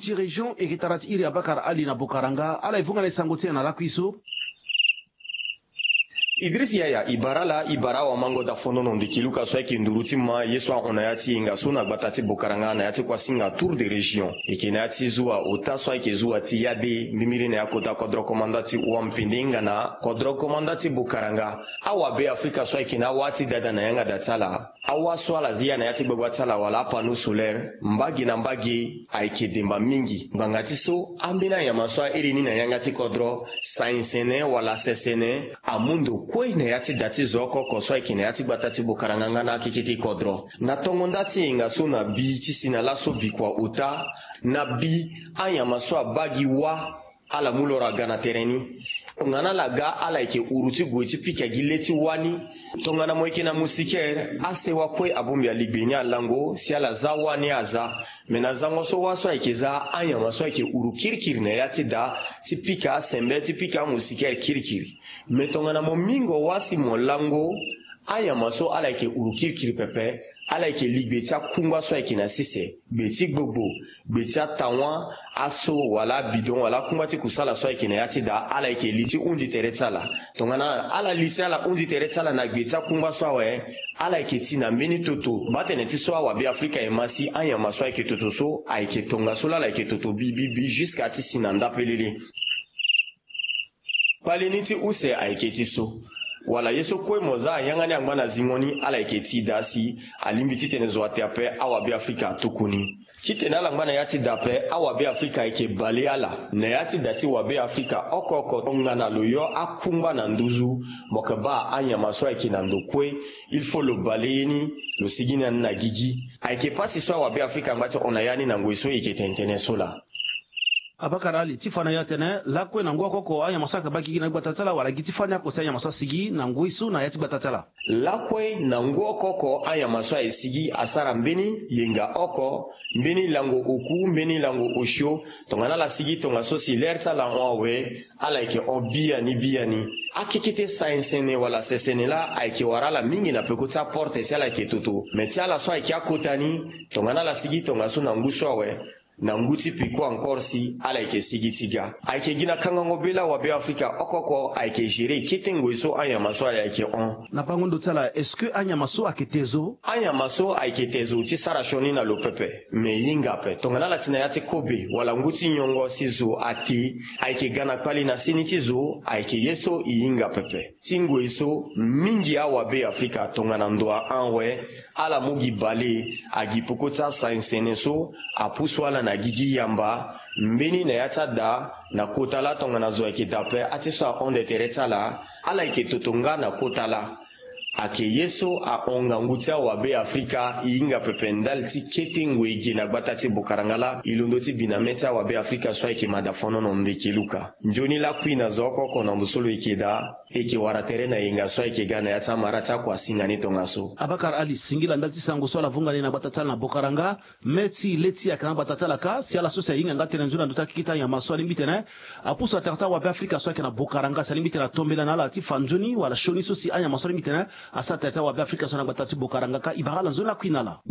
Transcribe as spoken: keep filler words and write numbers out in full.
Ti région eke tara ti iri Abakar Ali na Bokaranga, ala e vunga na e sango ti e na lakui so. Idris Yaya, e bara ala, e bara awamango dafonono ndiki luka so ayeke nduru ti ma ye so ahon na ya ti yenga so na gbata ti Bokaranga na ya ti kuasinga tour de région. Eke na ya ti zuwa ota so ayeke zuwa ti yade mbimbiri na ya kota kodro komanda ti Wampende nga na kodro komanda ti Bokaranga. Awabe Afrika so ayeke na awa ti dada na yanga da ti ala. Awa so ala zi ya na ya ti gbagba ti ala wala apanneau solaire, mbage na mbage ayeke demba mingi. Ngbanga ti so, ambeni anyama so a iri ni na yanga ti kodro, sai-sene wala sesene, amu ndo kue na ya ti da ti zo oko oko so ayeke na ya ti gbata ti Bokaranga nga na akeke ti kodro. Na tongo nda ti yenga so na bi ti si na laso bikua ota, na bi anyama so abaa gi wâ, ala mu loro aga na tere ni. Tongana ala ga, ala yeke uru ti gue ti pika gi le ti wâ ni. Tongana mo yeke na moustiquaire, asewa kue abongbi aligbe ni alango si ala za wâ ni aza. Me na zango so wâ so ayeke za, anyama so ayeke uru kirikiri na ya ti da ti pika asembe, ti pika amoustiquaire kirikiri. Me tongana mo mingo wâ si mo lango, anyama so ala yeke uru kirikiri pepe, ala yeke li gbe ti akungba so ayeke na sese, gbe ti gbogbo, gbe ti atawa, aso wala abidon wala akungba ti kusala so ayeke na ya ti da, ala yeke li ti hundi tere ti ala. Tongana ala li si ala hundi tere ti ala na gbe ti akungba so awe, ala yeke ti na mbeni toto. Baa tene ti so awabe Afrika e ma si anyama so ayeke toto so ayeke tongaso laa ala yeke toto bibibi jusqu'à ti si na nda pelele. Kpali ni ti use ayeke ti so. Wala ye so kue mo za ayanga ni angba na zingo ni, ala yeke ti da si alingbi titene zo ate ape awabe Afrika atuku ni. Titene ala ngba na ya ti da ape, awabe Afrika ayeke bale ala. Na ya ti da ti wabe Afrika oko oko, tongana lo yo akungba na nduzu, mo yeke baa anyama so ayeke na ndo kue, il faut lo bale ye ni, lo sigi na ni na gigi. Ayeke pasi so awabe Afrika angba ti hon na ya ni na ngoi so e yeke tene tënë so laa. Abakar Ali, ti fa na e atene lakue na ngu oko oko anyama so ayeke baa gigi na gbata ti ala, wala gi ti fani oko si anyama so asigi na ngoi so na ya ti gbata ti ala? Lakue na ngu oko oko anyama so aye sigi asara mbeni yenga oko, mbeni lango oku, mbeni lango osio. Tongana ala sigi tongaso si lere ti ala hon awe, ala yeke hon biani biani. Akekete sai-sene wala sesene laa ayeke wara ala mingi na peko ti aporte si ala yeke toto. Me ti ala so ayeke akota ni, tongana ala sigi tongaso na ngu so awe, na ngu ti peko encore si ala yeke sigi ti ga. Ayeke gi na kangango be laa wabe Afrika oko oko ayeke gérer kete ngoi so anyama so ala yeke hon. Na bango ndo ti ala, est-ce que anyama so ayeke te zo? Anyama so ayeke te zo ti sara sioni na lo pepe. Me e hinga ape. Tongana ala ti na ya ti kobe wala ngu ti nyongo si zo ate, ayeke ga na kpali na seni ti zo, ayeke ye so e hinga pepe. Ti ngoi so, mingi awabe Afrika tongana ndo ahon awe, ala mu gi bale, agi peko ti asainsene so apusu ala na gigi yamba. Mbeni na ya ti ada, na kota laa tongana zo ayeke da ape, ati so ahon nde tere ti ala, ala yeke toto nga na kota laa. Ayeke ye so ahon ngangu ti awabe Afrika, e hinga pepe ndali ti kete ngoi ge na gbata ti Bokaranga laa, e londo ti bi na mê ti awabe Afrika so ayeke mada fonono ndeke luka. Nzoni lakui na zo oko oko na ndo so lo yeke daa. E yeke wara tere na yenga so ayeke ga na ya ti amara ti akuasinga ni tongaso. Abakar Ali, singila ndali ti sango so ala vunga ni na gbata ti ala na Bokaranga. Mê ti le ti ayeke na gbata ti ala kâ, si ala so si ahinga nga tënë nzoni na ndö ti akeke ti anyama so alingbi tene apusu na tere ti awabe Afrika so ayeke na Bokaranga, si alingbi tene atombela na ala ti fa nzoni wala sioni so si anyama so alingbi tene asara tere ti awabe Afrika so na gbata ti Bokaranga kâ, e bara ala nzoni lakui na ala.